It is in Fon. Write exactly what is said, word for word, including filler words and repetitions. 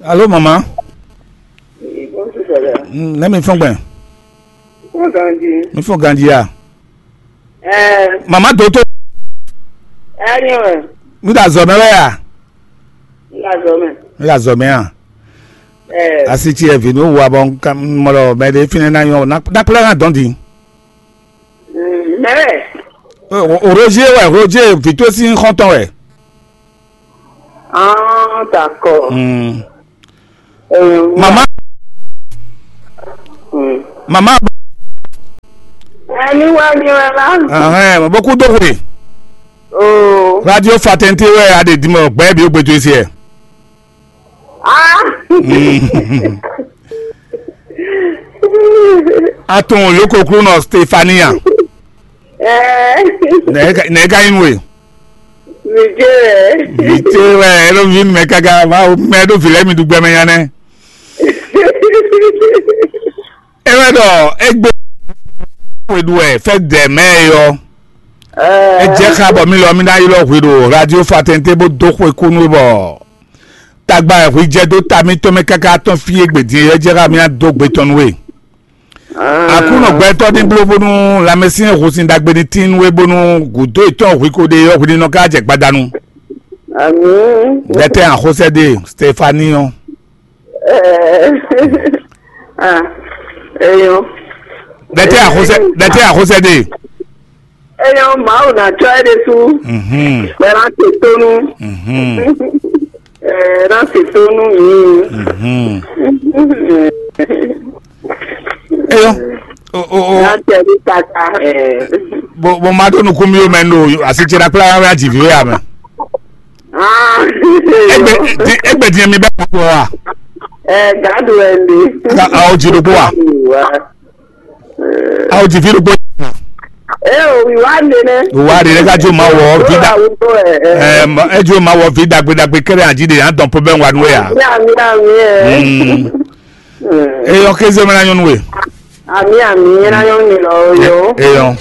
Alo, mama. Bonjour, dada. Mm, ne mi fɔn gbɛn. Fɔn ganji. Mi fɔn ganji ya. Eh, Mama doto. Enyo. Mi da zɔ mɛ wɛ ya. Nga zɔ mɛ. Mi da zɔ mɛ ya. Eh, Asi ci evi nu wa bɔ nka mɔlɔ mɛ de fine na yɔ na na kplɛ na dɔn di. Mm, mɛ wɛ. O, o, Roger wɛ, Roger vito sin xɔntɔn wɛ. Ah, d'accord. Mm. Eh, Mama, mm. Mama. Ani wa ni wa la. Ahɛn, boku do hwe. Oh. Radio Fatente wɛ a de dimɔ gbɛ bi o gbedo esi ɛ. Ah. Mm. Atun yoko kru nɔ Stefania. Eh. Nɛ ka nɛ ka yin we. Vijé. Vijé wɛ, elo vin mɛ kaka, ma o mɛ do vilɛ mi du gbɛmɛ nya nɛ. E wɛ dɔ egbe we du wɛ fɛ dɛ mɛ yɔ. E jɛ xa bɔ mi lɔ mi na yi lɔ hwe do radio Fatente bo do xwe kunu bɔ tagba ɛ hwi jɛ do ta mi tɔn mɛ kaka tɔn fi egbe din e jɛ xa mi na do gbe tɔn nu we. Aklúnɔ gbɛtɔ́ ní bló bónú lanmɛsyɛn húsin ɖagbe ní tín nú we bónú gǔdo yětɔn hwi ko ɖe ɔ́ hwi ní nɔ ká jɛ gbadanu. Amǐ. Lɛtɛ axosɛ́ ɖe Stefani ɔ́. Ɛɛ. Ah, eyɔn. Lɛtɛ axosɛ́ lɛtɛ axosɛ́ ɖe. Eyɔn Mawu ná tsɔ́ ɛ ɖésú. Mhm. Bɔ ɛ ná se tónú. Mhm. Ɛ ná se tónú mi. Mhm. Eyɔn. O o o. Ná tẹ ní kaka. Ɛ. Bo bo ma ɖo nukún mi o mɛ ɖo asi ce ɖa kplá wá jì vi wé amɛ. Ah. Egbe di egbe di mi bɛ kpɔ wa. Ɛ gadu ɛ ndi. Ka awo dzi ɖokpó wa. Wa. Awo dzi vi ɖokpó. Ɛ o wi wa nde nɛ. Wa ɖe ɖe ka jo ma wɔ vi da. Ɛ ma e jo ma wɔ vi dagbe dagbe kɛrɛ adzi ɖe yan dɔn po bɛ wa nu ya. Ya mi ya mi ɛ. Mm. Eyɔ kéze mɛ na nyɔnu we. Ami ami ɛ na nyɔnu mi lɔ yo. Eyɔ.